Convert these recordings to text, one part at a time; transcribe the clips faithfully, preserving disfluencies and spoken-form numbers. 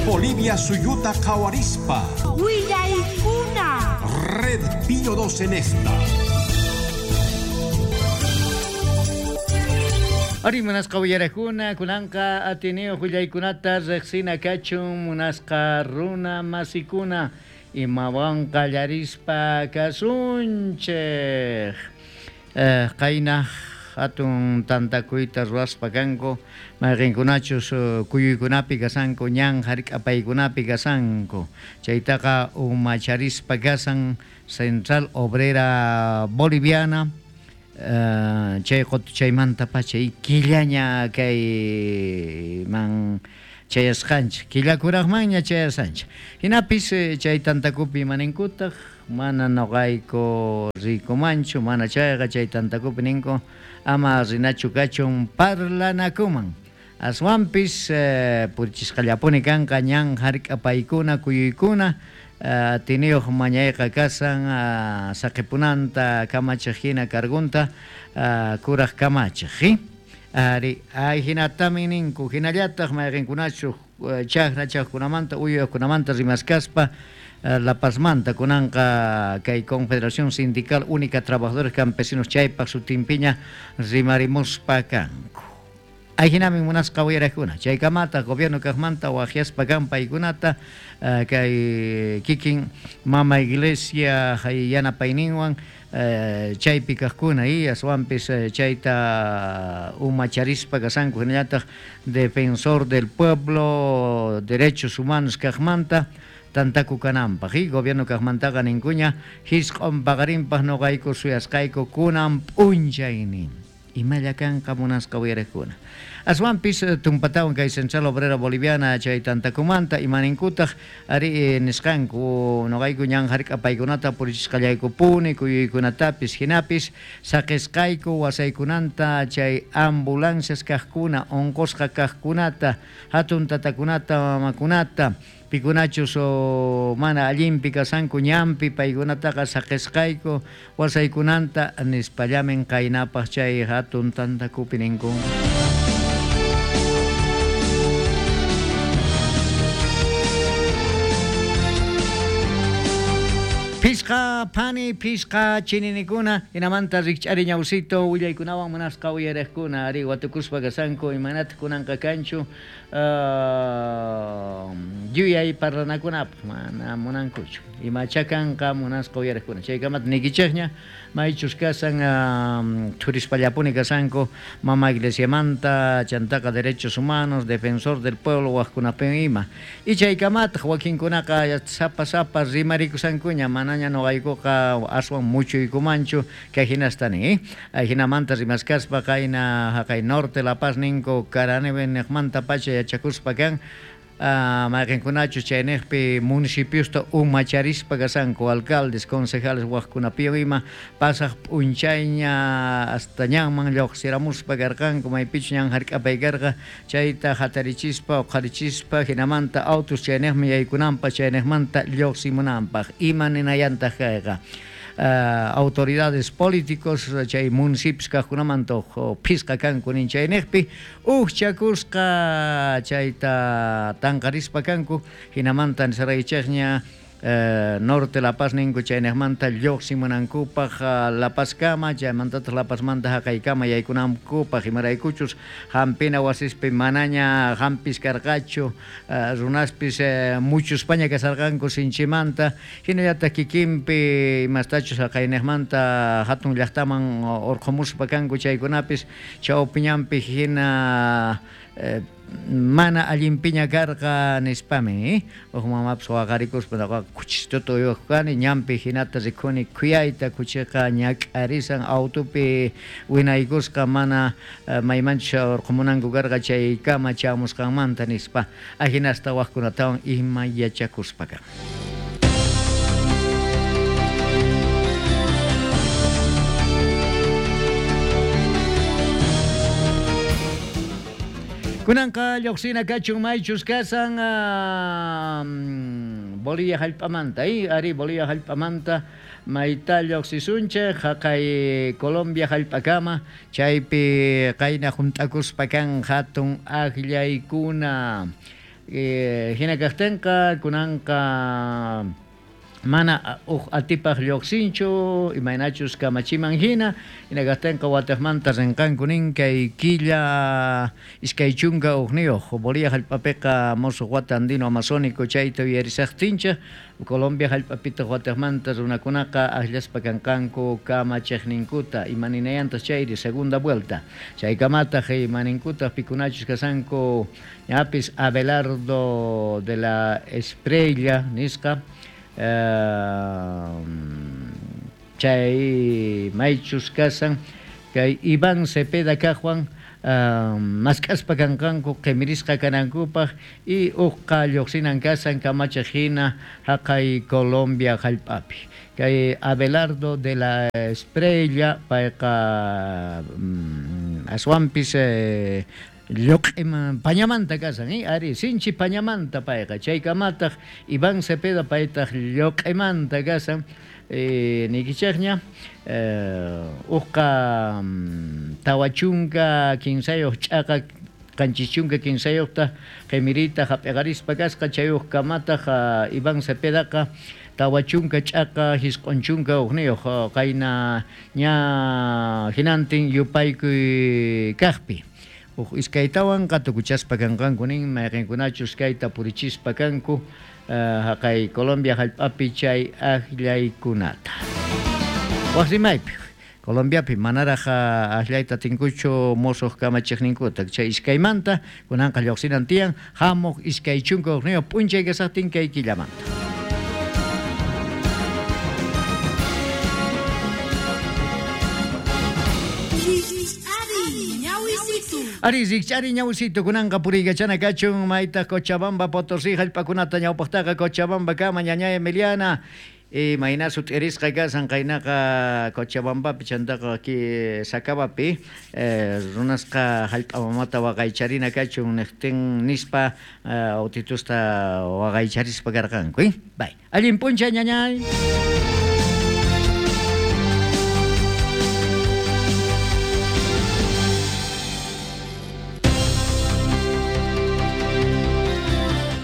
Bolivia suyuta qhawarispa. Willaykuna. Red Pío doce en esta. Ari munasqa willarakuna kunanqa atineo willaykunata riqsina kachun munasqa runa masikuna imawan qallarispa kasunchej. Eh, qayna hatun tantakuyta ruwaspa kanku mayqinkunachus kuyuykunapi kasanku ñan hark'apaykunapi kasanku chaytaqa umacharispa kasan Central Obrera Boliviana. Uh, chay qotuchaymanta pacha y killaña kay man chayasqanchik killakuraqmanña chayasqanchik hinapis chay tantakupi imaninkutaq mana noqayku rikumanchu mana chayqa chay tantakupi ninku ama rinachu kachun parlanakuman aswanpis eh, purichisqallapuni kanqa ñan hark'apaykuna kuyuykuna Uh, tiniyuq mañayqa kasan uh, saqipunanta kamachiq hina cargunta uh, kuraq kamachiq ari ay hinatami ninku hinallataq mayqinkunachu uh, chaqra chaqkunamanta uyuyaqkunamanta rimaskaspa uh, La Pazmanta kunanqa kay Confederación Sindical Única Trabajadores Campesinos chaypaq sutinpiña rimarimuspa kanku. Ayhinami munasqa willarakuna chaykamata gobierno kaqmanta waqyaspa kan paykunata uh, kay kikin mama iglesia yanapayninwan uh, chaypi kaqkuna y aswanpis uh, chayta umacharispa kasanku hinallataq defensor del pueblo derechos humanos kaqmanta tantaku kananpaq y gobierno kaqmantaqa ninkuña hisq'un paqarinpaq noqayku suyasqayku kunan p'unchaynin imalla kanqa munasqa willarakuna. Aswanpis tumpatawan kay Central Obrera Boliviana chay tantakumanta imaninkutaq ari nisqanku noqayku ñan hark'apaykunata purichisqallaykupuni kuyuykunatapis hinapis saqisqayku wasaykunanta chay ambulancias kaqkuna unqusqa kaqkunata hatun tatakunata mamakunata pikunachus o mana allinpi kasanku ñanpi paykunataqa saqisqayku wasaykunanta nispallamin qaynapaq chay hatun tantakupi ninku. Pisqa pani, pisqa chininikuna, hinamanta rikch'ari ñawsito willaykunawan munasqa uyariqkuna ari watukuspa kasanku imanataq kunanqa kanchu uh, yuyay parlanakunapaq mana munankuchu imacha kanqa munasqa uyariqkuna chaykamata nikichikña maychus kasan uh, thurispallapuni kasanku mama iglesiamanta chantaqa derechos humanos defensor del pueblo waqkunapin ima y chaykamataq wakinkunaqa sapa sapa rimarikusankuña mana noqaykuqa aswan muchuykumanchu kay hinastani eh? Hinamanta rimaskaspa qayna haqay norte La Paz ninku Karaneve niqmanta pacha yachakuspa kan uh, mayqinkunachu chayniqpi municipiosta umacharispa kasanku alcaldes, concejales waqkunapiwan ima pasaq p'unchayña hasta ñanman lluqsiramuspa karqanku maypichu ñan hark'apay karqa chayta hatarichispa uqharichispa hinamanta autos chayniqman yaykunanpaq chayniqmanta lluqsimunanpaq ima ninayantaq kayqa. Uh, autoridades políticos chay municipios kaqkunamanta phisqa kanku nin chayniqpi uqchakusqa chayta tanqarispa kanku hinamanta nisaraychikña Uh, norte La Paz ninku chayniqmanta lluqsimunankupaq uh, La Pazkama chaymantataq La Pazmanta haqaykama yaykunankupaq imaraykuchus hampina wasispi manaña hampis karqachu uh, runaspis uh, muchuspaña kasarqanku sinchimanta hinallataq kikinpi imastachus haqayniqmanta hatun llaqtaman urqumuspa kanku chaykunapis chawpiñanpi hina uh, mana allinpiña karqa nispami eh? Uj mamapas waqarikuspa noqaqa kuchistuta uywaq kani ñanpi hinata rikuni khuyayta kuchiqa ñak'arisan autopi winaykusqa mana uh, maymanchus urqumunanku karqa chaykama chamusqanmanta nispa ahinasta waqkunatawan ima yachakuspa kan. Kunanqa lluqsina kachun maychus kasan uh, Bolivia hallp'amanta y ari Bolivia hallp'amanta mayta lluqsisunchik haqay Colombia hallp'akama chaypi qayna hunt'akuspa kan hatun aqllaykuna. Eh, hina kaqtinqa kunanqa mana uj atipaq lluqsinchu imaynachus kamachiman hina hina kaqtinqa wataqmanta rinqanku nin kay killa iskay chunka ujniyuq Bolivia hallp'apiqa musuq wata andino amazónico chayta uyarisaqtinchik Colombia hallp'apitaq wataqmanta runakunaqa akllaspa kanqanku kamachiqninkuta imaninayantaq chayri segunda vuelta chaykamataq imaninkutaq pikunachus kasanku ñapis Abelardo de la Espriella nisqa Uh, chay maychus kasan kay Iván Cepeda kaqwan uh, mask'aspa kanqanku qimirisqa kanankupaq y uqqa lluqsinan kasan kamachiq hina haqay Colombia hallp'api kay Abelardo de la Espriella payqa um, aswanpis eh, lluq'iman pañamanta kasan, eh? Ari, sinchi pañamanta payqa, chaykamataq Iván Cepeda paytaq lluq'imanta kasan, eh, niykichikña, eh, uqqa tawa chunka kinsayuq ch'aqa qanchis chunka kinsayuqta qimirita hap'iqarispa kasqa, chay uqkamataq uh, Iván Cepedaqa tawa chunka ch'aqa hisq'un chunka uqniyuq qayna ña hinantin yupaykuy kaqpi. Uj iskaytawan qatukuchaspa kanqanku nin mayqinkunachus kayta purichispa kanku uh, haqay Colombia hallp'api chay akllaykunata. Waq rimaypi Colombiapi manaraq akllayta atinkuchu musuq kamachiqninkuta chay iskaymanta kunanqa lluqsinan tiyan hamuq iskay chunka uqniyuq p'unchay kasaqtin kay killamanta. Ari rikch'ari ñawsito kunanqa puriykachana kachun maytaq Cochabamba Potosí hallp'akunata ñawpaqtaqa Cochabamba kama ñañay Emiliana imayna sut'irisqa kasan qaynaqa Cochabambapi chantaqa ki Sacabapi eh, runasqa hallp'a mamata waqaycharina kachun niqtin nispa eh, autitusta waqaycharispa karqanku, eh? Bay. Allin p'unchay ñañay.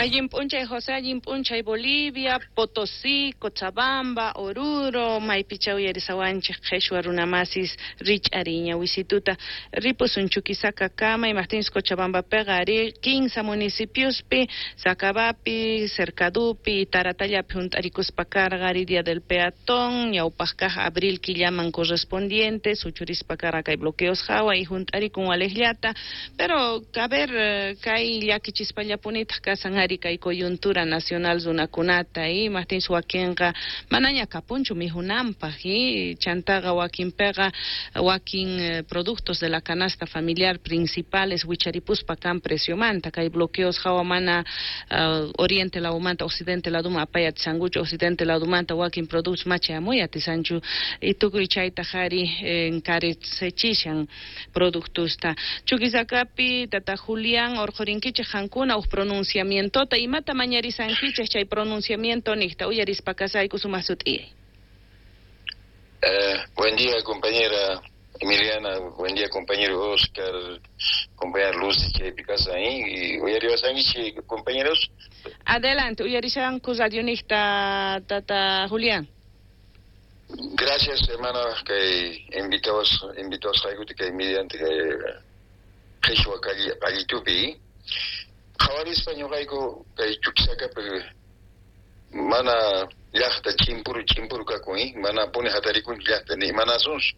Allin p'unchay José, allin p'unchay Bolivia, Potosí, Cochabamba, Oruro, maypicha uyarisawanchik qheshwa runamasis rich'ariña wisituta ripusun Chuquisaca kama imaqtinchus Cochabambapiqa ari kinsa municipiospi Sacabapi, Cercadupi, Taratallapi hunt'arikuspa karqa ari Día del Peatón, ñawpaq kaq abril killaman correspondiente, suchurispa karqa kay bloqueos hawa y hunt'arikun waliqllata, pero a ver kay llakichispallapunitaq kasan ari kay coyuntura nacional runakunata y imaqtinchus wakinqa manaña kapunchu mijunanpaq y chantaqa wakinpiqa wakin eh, productos de la canasta familiar principales wicharipuspa kan preciomanta kay bloqueos hawa mana uh, oriente ladumanta occidente laduma apay atisankuchu occidente ladumanta wakin productos machayamuy atisanchu y tukuy chaytaq ari encarecechishan productosta Chuquisacapi tata Julián urqurinkichik qankuna uj pronunciamiento imata mañarisankichik chay pronunciamiento niqta uyarispa kasayku sumaq sut'iyay. Eh, buen día, compañera Emiliana, buen día, compañero Oscar, compañera Lucy, chaypi kasan y uyariwasankichik compañeros. Adelante, uyarishanku radio niqta tata Julián. Gracias, hermana, que invitados invitados kay mediante kay qhishwa qallitupi. Qhawarispa ñuqayku kay Chuquisacapi mana llaqta chimpuru chimpuru kakun, eh? Mana puni hatarikunchu llaqta ni imanasunchu.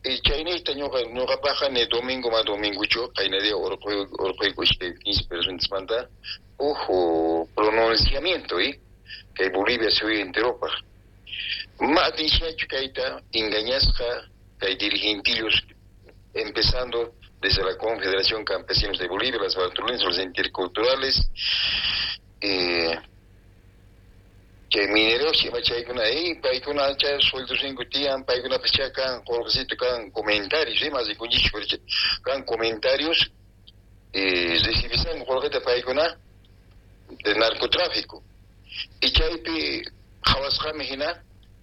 Y chayniyta ñuqa ñuqapaqqa ni domingo ma dominguchu qayna día urquyku urquyku iskay quince personasmanta uj pronunciamiento, eh? Kay Bolivia suyu enteropaq. Ma atinchiñachu kayta engañasqa kay dirigentillos empezando desde la Confederación Campesinos de Bolivia, las Bartolinas, los interculturales, eh, que mineros, chaykuna, eh, paykuna chay sueldos tiyan, paykuna kan qolqecito kan comentarios, eh, más de kan comentarios, eh, recibisan qolqeta paykuna de narcotráfico. Y chaypi qhawasqami hina,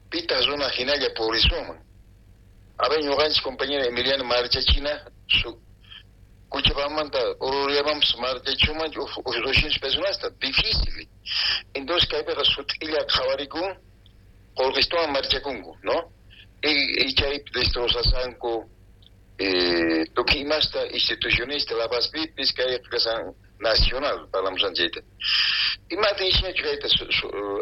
pita runa hinalla purisuman. A ver, ñuqanchik compañera Emiliano Marchachina, su Cochabambamanta Oruriamanpis marchachumanchu uj doscientos personasta, difícil. Entonces kaypiqa sut'illa qhawarikun qolqistuwan marchakunku, ¿no? Y, y chay destrozasanku eh, tukuy imasta institucionista La Pazpipis kay kasan nacional parlamusan chayta. Imata nishachu kayta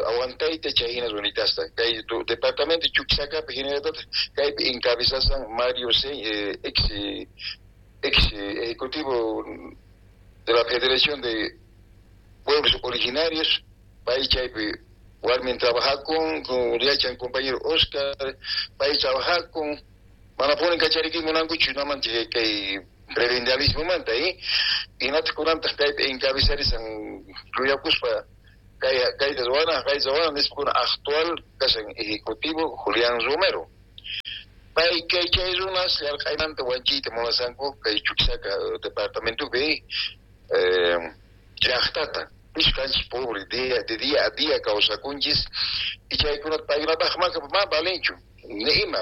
aguantayta chay hina runitasta kay departamento Chuquisacapi hinallataq kaypi encabezasan Mario C, eh, ex ex ejecutivo de la Federación de Pueblos Originarios, pay chaypi warmin trabajakun con yachan compañero Oscar, pay trabajakun manapuni kachariki munankuchu naman kay prebendalismo manta eh hinataq kunantaq kaypi encabezarisan ruyakuspa kay kayta ruwana kayta ruwana nispa kuna actual kasan ejecutivo Julián Romero. Pay kay chay runas llarq'aymanta wanchiyta munasanku kay Chuquisaca departamentopi eh, llaqtata kanchis pobre día de día a día kawsakunchis y chaykunata paykunapaq ma valenchu ni ima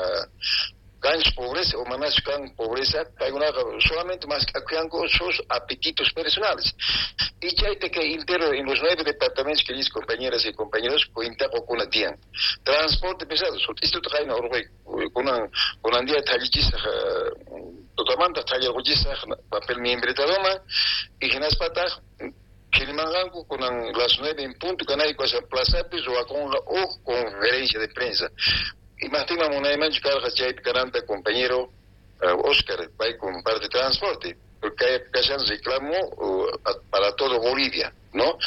kanchis pobreza o manachu kan pobreza paykunaqa solamente mask'akuyanku sus apetitos personales y chayta kay entero en los nueve departamentos que dice compañeras y compañeros cuentaqukuna tiyan transporte pesado sut'istuta qayna urquyku kunan kunan día thallichisaq tutamanta thallarquchisaq papel miembretadoman y hinaspataq qhilimanqanku kunan las nueve en punto kanayku asa plazapi ruwakunqa uj conferencia de prensa. Imajtinman munaymanchu karqa chaypi kananta compañero uh, Oscar pay con parte de transporte porque kashan reclamo uh, para todo Bolivia, ¿no?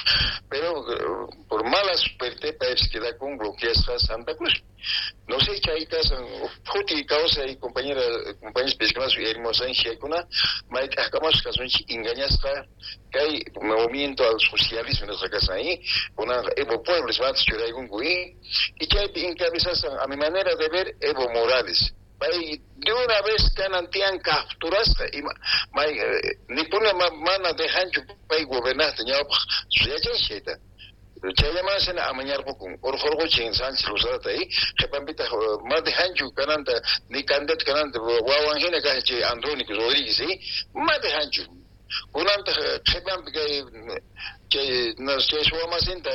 Pero uh, por mala suerte paypis queda con bloqueasqa Santa Cruz. No sé chay kasan juti kawsay y compañera compañeros pescados y hermosan chaykuna mayt'aqkamasqa kasunchik engañasqa kay movimiento al socialismo nuestra casa ahí kunan Evo Pueblos matas churaykunku y y chaypi encabezasan a mi manera de ver Evo Morales. Pay de una vez kanan tiyan capturasqa ima may nipuna mana dejanchu pay gobernasta ñawpaq yachanchik chayta. Chayllaman amañarqukun urqurquchin Sánchez Lozadata y qhipanpitaq ma dejanchu kananta ni candidato kananta wawan hina kashan chay Andrónico Rodríguez y ma dejanchu kunantaq qhipanpi kay chay chay suwamasinta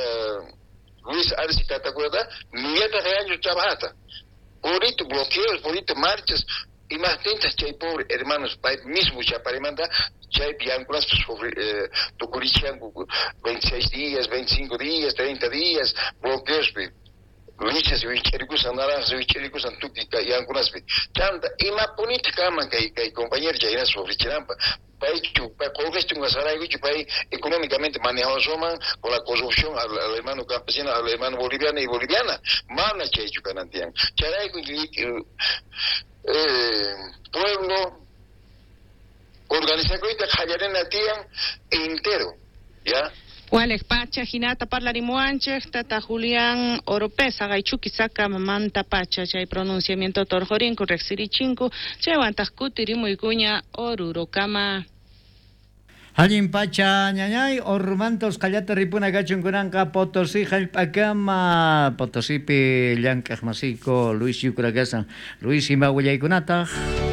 Luis Arce Catacurata nillataq yanchu trabajata purito bloqueos purito marchas imajtintaq chay pobre hermanos pay mismo chaparimanta chaypi yankunaspa eh, tukurichanku veintiséis días, veinticinco días, treinta días bloqueospi lichas wich'arikusan naranjas wich'arikusan tukuy yankunaspi chanta imapunitaq kanman kay kay compañero chay hinaspa sufrichinanpaq paychu qolqechunqa saraykuchu pay económicamente manejawasunman con la corrupción al, al hermano campesino, al hermano boliviano y boliviana mana chaychu kanan tiyan chayrayku eh, pueblo organizakuyta qallarina tiyan entero, ¿ya? Walej pacha hinata parlarimuanchej tata Julián Oropeza gay Chuquisaca mamanta pacha chay pronunciamiento torjorinku riqsirichinku chaywantaq kutirimuykuña Orurokama. Allin pacha ñañay ormantos qallata ripuna kachun kunanqa Potosí hallp'akama Potosipi llank'aq masiyku Luis Yucra kasan. Luis ima willaykunataq.